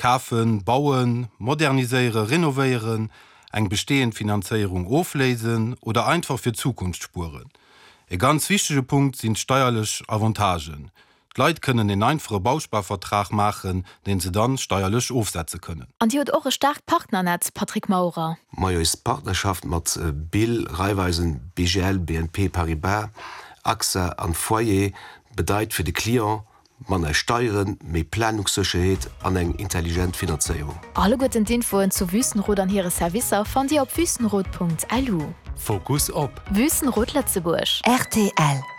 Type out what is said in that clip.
Kafen, bauen, moderniséieren, renovéieren, eng bestehend Finanzéierung ofléisen oder einfach fir d'Zukunft spueren. E ganz wichtege Punkt sinn d'steierlech Avantagen. D'Leit kënnen en einfache Bausparvertrag maachen, deen se dann steierlech ofsetze kënnen. An Dir hutt och e staarkt Partnernetz, Patrick Maurer. Majo, eis Partnerschaft mat Bill, Raiffeisen, BGL, BNP Paribas, AXA an Foyer bedeit fir de Client manner Steieren, méi Planungssécherheet an eng intelligent Finanzéierung. Alleguerten d'Infoen zu Wüstenrot an hire Servicer fannt Dir op wüstenrot.lu. Fokus op. Wüstenrot Lëtzebuerg. Rtl.